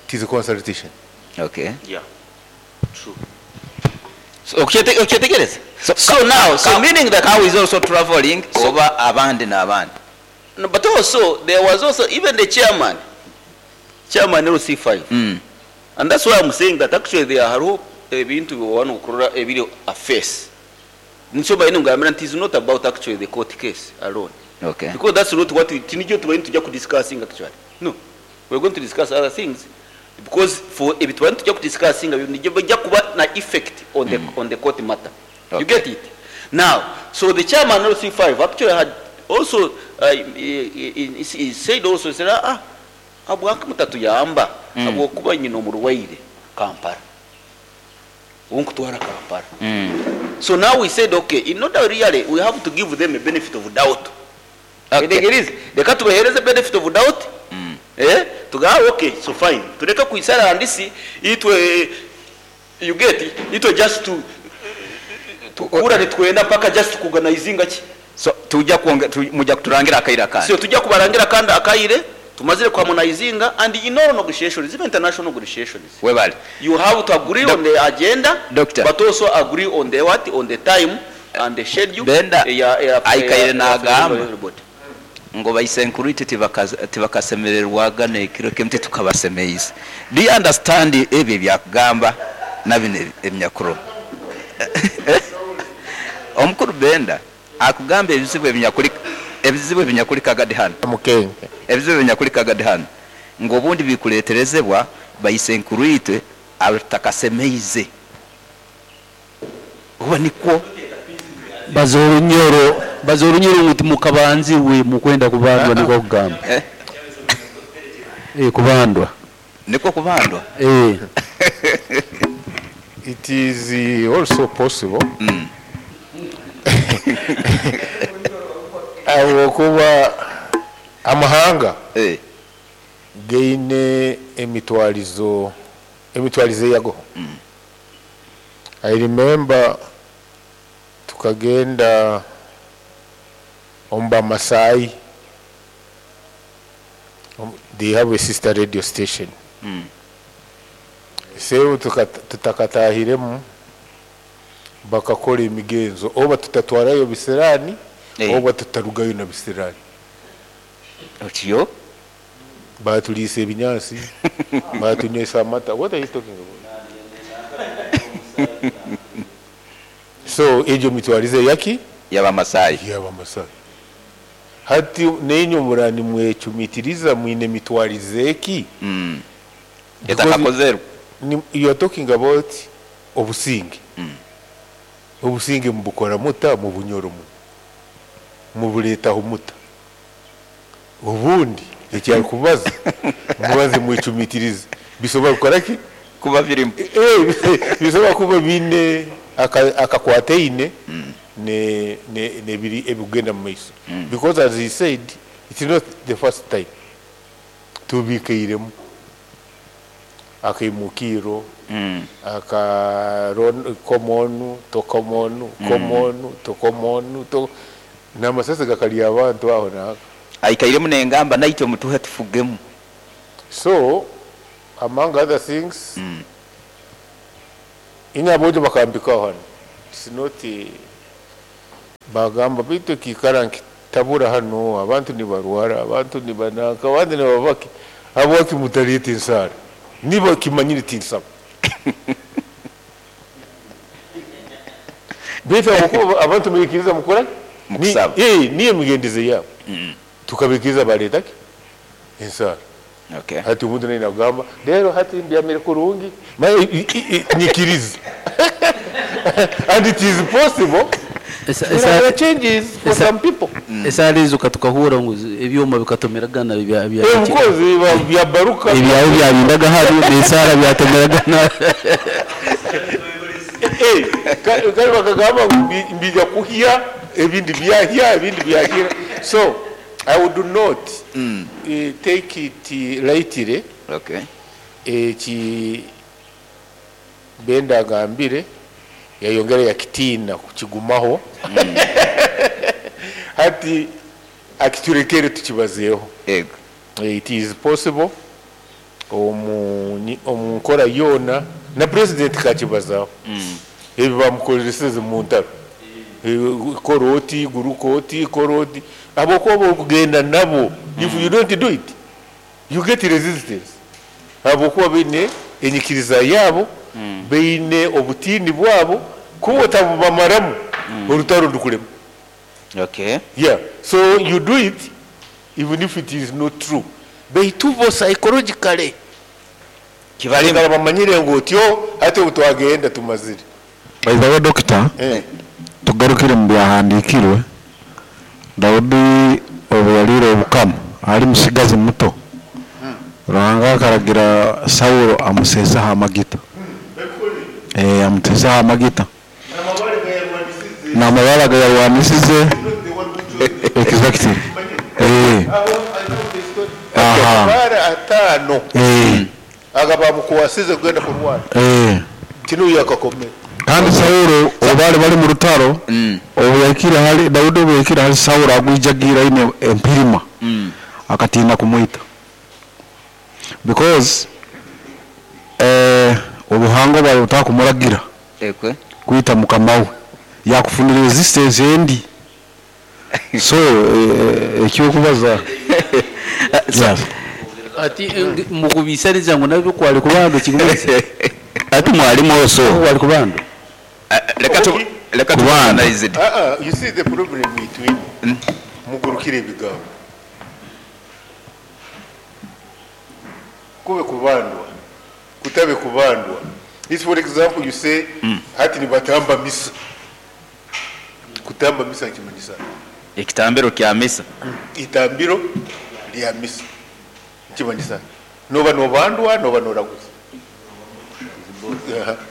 it is a consultation. Okay. Yeah. True. So so now, so meaning that cow is also traveling over abandi na abandi. No, but also there was also even the chairman LC5. And that's why I'm saying that actually there are ebintu one kurora ebiri a face. Nsoba ino ngamira it is not about actually the court case alone. Okay. Because that's not what we tinijyo tuba tujya ku discussing actually. No. We're going to discuss other things because for ebintu tujya ku discussing nijyo bijya kuba na effect on the on the court matter. Okay. You get it? Now, so the chairman of LC5 actually had also he said also said abwaka mutatu yamba abo kuba nyino murwaire Kampala. Unkutwara Kampala. So now we said, okay, in order really, we have to give them a benefit of doubt. Okay. Reka tubahereze benefit of doubt. Tuga okay, so fine. Tureka kuisara andisi itwe you get it, itwe just to tukura nitwenda paka just kuorganizinga ki. So tujya kuonge mujya kuturangira akaira kandi. So tujya kubarangira kandi akaire tumazire kuharmonizinga and in all negotiations, even international negotiations. Webale. You have to agree on the agenda, Doctor, but also agree on the what, on the time and the schedule. Benda aikaire nagamba ngo bayisenkurite tibakasemererwaga nekiro kemte tukabasemeiza. Do you understand ebyo byakugamba nabino emyakuro? Omukuru Benda akugamba ebizibu ebinyakuri Kagadi hano. Ebizibu ebinyakuri Kagadi hano ngo obundi bikuleterezebwa bayisenkurite abatakasemeize. Oba nikwo bazorunyoro nguti mukabanzi we mukwenda kubandwa niko kugamba. Kubandwa. Niko kubandwa. It is also possible. Abo kuba amahanga gaine emitwalizo yago. I remember tukagenda omba Masai. They have a sister radio station. Sewe tutakatahiremu bakakora emigenzo oba tutatwarayo bisirani oba tutarugayo na bisirani. Otiyo batulise ebinyansi batunywesa amata. What are you talking about? So ejo mitwarize yaki y'Abamasai. Y'Abamasai. Hati nenyo murani mwechumitiriza mwine mitwarize ki? Etakakozerwa. You are talking about obusinge. Obusinge mubukora muta mu bunyoro mu buletaho muta. Ubundi ekyari kubaza mubaze mwechumitirize bisoba gukora ki kuba birimo bisoba kuba bine akakwateine ne ne biri ebigenda mu maiso. Because as he said, it's not the first time tubikeiremu. Akaimukiro aka komonu tokomonu komonu tokomonu to n'amasasi gakalya abantu aho naka Aikairemu nengamba naitwe mutuhe tufugemu. So among other things, inyabojo bakambikaho hano, it's not bagamba bitu kikara nkitabura hano abantu nibarwara, abantu nibanaka, abandi nibabaki habwaki mutaleta ensara niba kimanyire tinsaba bitu abakuba abantu muyikiriza mukora Mukusaba. Niyo migendeze yabo tukabikiriza baleta ki ensara. Okay. Hati omuntu naye nagamba rero hati mbyamire kurungi nyikirize and it is possible. There are changes for some people. Esaara ezo katukahura ngu ebyoma bikatomeragana bya Of course bya baruka ebyawe byabindaga hano n'esaara byatomeragana. Kale bakagamba ngu mbija kuhya ebindi byahya ebindi byahira. So I would not take it lightly. Okay. Eki Benda agambire yayongera yakitina kukigumaho. Hati akiturekere tukibazeeho. Ego. It is possible omu nkora yona na president kakibazaho. Ebi bamukoreseze mu ntaro. Koroti gurukoti koroti abokuba okugenda nabo. If you don't do it you get resistance. Abokuba baine enyikiriza yabo, baine obutini bwabo kuba otabubamaramu orutaro ndukurema. Okay. Yeah, so you do it even if it is not true. Baitu bo psychologically kibalimba bamanyire ngu otyo ate obutwagenda tumazire. By the way, doctor, tugarukire mu byahandikirwe. Daudi obu yaliire obukama ali musigazi muto, Ruhanga akaragira Saulo amuseeseho amagita. Amuteeseho amagita n'amabara gayarwanisize. Exactly. Aha. Amabara 5 aga bamukwasize kugenda kurwana. Kino yakakomera. Kandi Saulo obu bali mu rutaro, obu yakira hali Daudi, obu yakira hali Saulo agwijagira ine empirima, akatina kumwita because obuhango bwali butakumuragira Ekwe. kwita mukama we yakufunira resistance endi. So ekyokubaza. Yes. Ati mukubisariza ngo nabyo kwali kubando kigumese. Ati mwalimu oso kwali kubando. Leka tu analyze it. You see the problem between mugurukire ebigambo kube kubandwa kutabe kubandwa. This for example you say hati nibatamba misa. Kutamba misa kimanyisa ekitambiro kya misa. Itambiro lya misa kimanyisa noba nobandwa noba noraguza.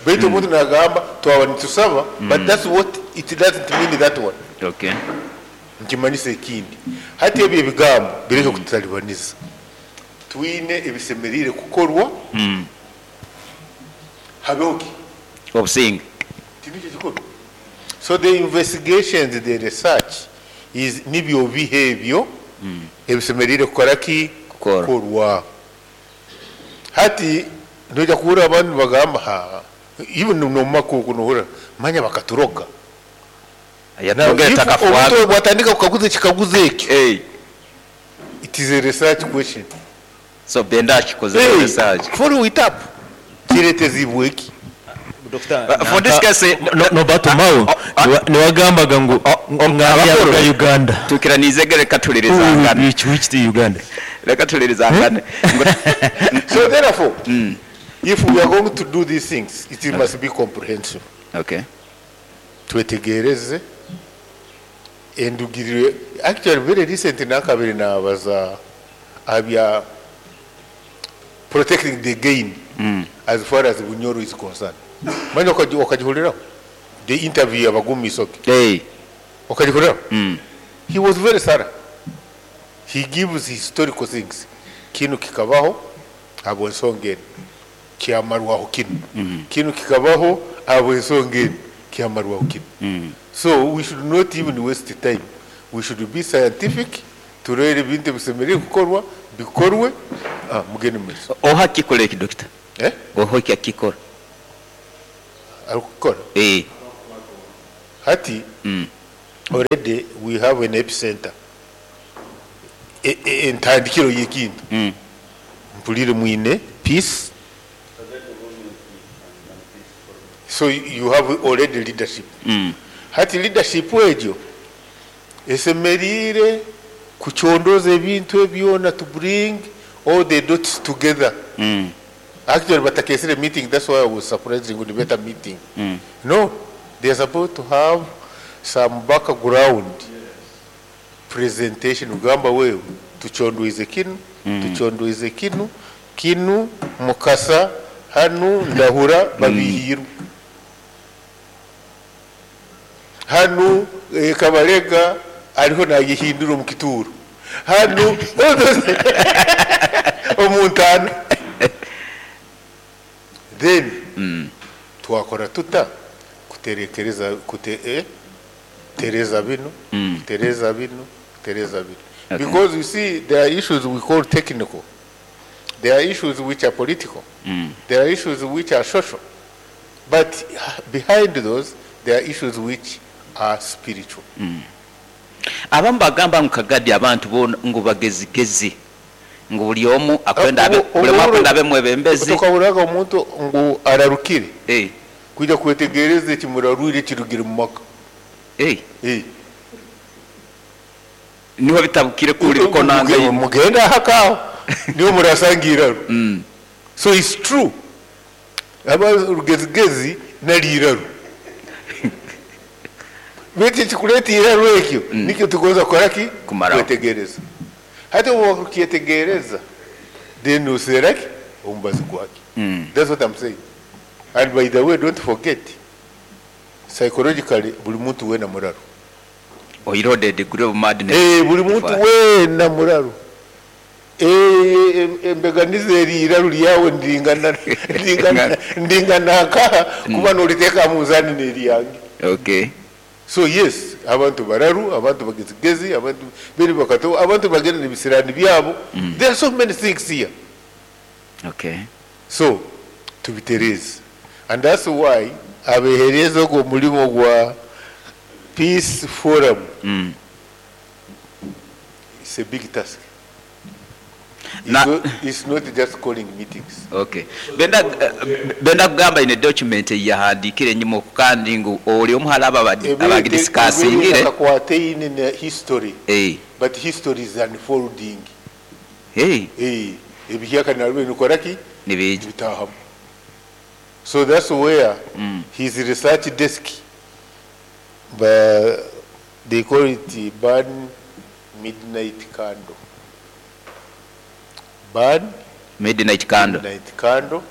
Baitu omuntu nagamba twaba nitusaba, but that's what it doesn't mean that one. Okay. Nkimanyisa ekindi. Hati ebyo ebigambo bireke kututalibaniza. Twine ebisemerire kukorwa. Habeho ki? Obusinge. Tinikyo kikorwa. So the investigations, the research is nibyo bihe ebyo ebisemerire kukora ki? Kukorwa. Hati noja kuhura abantu bagamba ha even no makuku nohura manya bakaturoga. Yatugera takafuaga. Bwatandika kukaguza kikaguza ekyo. It is a research question. So Benda akikoze research. Follow it up. Kiretezibwe ki? Doctor, For this case no batumawo niwagambaga ngu ng'ayaga Uganda. Tukiranize reka tulirizangane. Which the Uganda? Reka tulirizangane. So therefore, if we are going to do these things, it must be comprehensive. Okay. Twetegereze endugirire. Actually very recent nakabiri nabaza abya protecting the gain as far as Bunyoro is concerned. Manya okajihulira the interview abagumi soke. Hey. Okajihulira. He was very thorough. He gives historical things. Kinu kikabaho abo nsongeni. Kyamarwaho kinu, kinu kikabaho ahabw'ensonga enu, kyamarwaho kinu. So we should not even waste time, we should be scientific, turore ebintu ebisemeriire kukorwa bikorwe, mugende mumaiso. Oha akikora eki, Dokita? Eh? Oha eki akikora? Arikukikora? Eh. Hati already we have an epicenter, entandikiro y'ekintu. Mpulire mwine peace, so you have already leadership. Hati leadership egyo esemeriire kucondoza ebintu ebyona, to bring all the dots together. Actually batakesire meeting, that's why I was surprised ngu nibeta meeting. No, they are supposed to have some background presentation, kugamba wewe tuchondoize kinu, tuchondoize kinu, kinu Mukasa hanu Ndahura babihirwe hanu, Kabalega ariho nayehindura omu kituro hanu omuntano, then twakora tuta kuterekereza kute, tereza bino, tereza bino, tereza bino. Because you see, there are issues we call technical, there are issues which are political, there are issues which are social, but behind those there are issues which are spiritual. Abamu bagamba ngu Kagadi abantu boona ngu bagezigezi, ngu buli omu akwenda abe, buli omu akwenda abe mwebembezi. Tukahuraga omuntu ngu ararukire kwija kwetegereza ekimurarwire kirugire mu maka. Niho bitabukire kuri bikonanga. Mugenda hakaho niho murasanga iraro. So it's true, aba rugezigezi nari iraro, beti kikuleta iraro ekyo nikyo tugonza kukora ki? Kumaraho. Kwetegereza. Hati obu wakyetegereza, then useraki omubazi gwake. That's what I'm saying. And by the way, don't forget, psychologically buli muntu wena muraro. Oirode the degree of madness. Buli muntu wena muraro. Embeganize eri iraro lyawe ndingana nkaha kuba noliteeka munzani n'eri yange. So yes, abantu bararu, abantu bagezigezi, abantu beri bakato, abantu bagenda n'ebisirani byabo. There are so many things here. So tubitereze. And that's why abehereza ogwo mulimo gwa Peace Forum. It's a big task. It's not just calling meetings. Okay. Benda kugamba ine document yahandikire nyuma kandi ngu oli omuhala abagidiscussingire. Akakwate ine history. But history is unfolding. Ebihyaka nalwe nikoraki? Nibiji. Bitahamu. So that's where his research desk, but they call it burn midnight candle. Burn midnight candle. Midnight candle.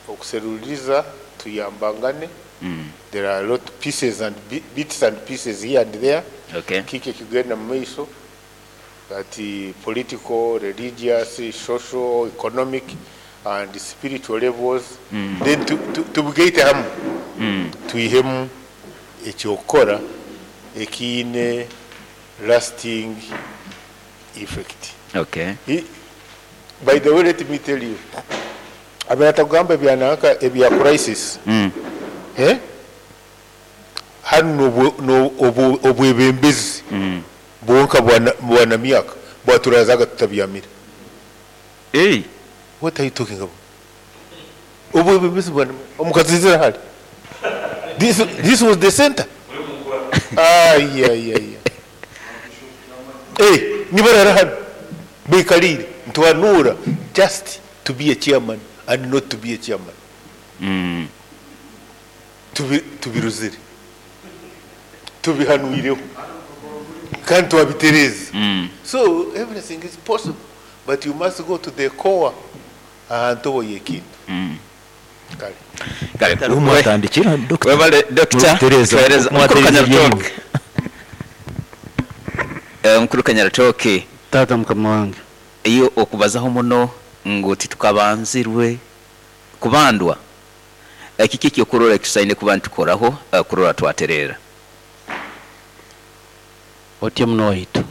Okuseruliza tuyambangane. There are a lot of pieces and bits and pieces here and there. Kike kigenda mu maiso. That political, religious, social, economic and spiritual levels. Then tubugeite hamu. Tuihemu ekyokora ekiine lasting effect. By the way, let me tell you, abatagamba byanaka ebya crisis. Hano obwebembezi bonka bwana myaka bwaturazaga tutabyamira. What are you talking about? Obwebembezi bwana omukazizira hali. This was the center. Yeah, yeah, yeah. Nibarara hano bikalire ntwanura just to be a chairman and not to be a chairman. Tubiruzire. Tubihanuireho. Kandi twabitereze. So everything is possible, but you must go to the core ahantu boyekintu. Kale. Kale. Kale, umwatandikira, Doctor. Webale, Doctor. Tereza. Tereza. Mukuru Mukuru Kanyaratoke. Kanyaratoke. Mukuru Kanyaratoke. Tata mukama wange. Iyo okubazaho muno Ngu titukabanzirwe kubandwa. Kiki ekyokurora ekitusaine kuba nitukoraho kurora twaterera? Otyo muno waitu,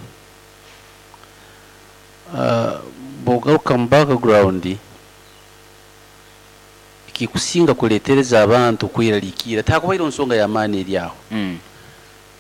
bwogaruka mu background, ekikusinga kuletereza abantu kweraliikira, takubaire nsonga y'amaani eri aho.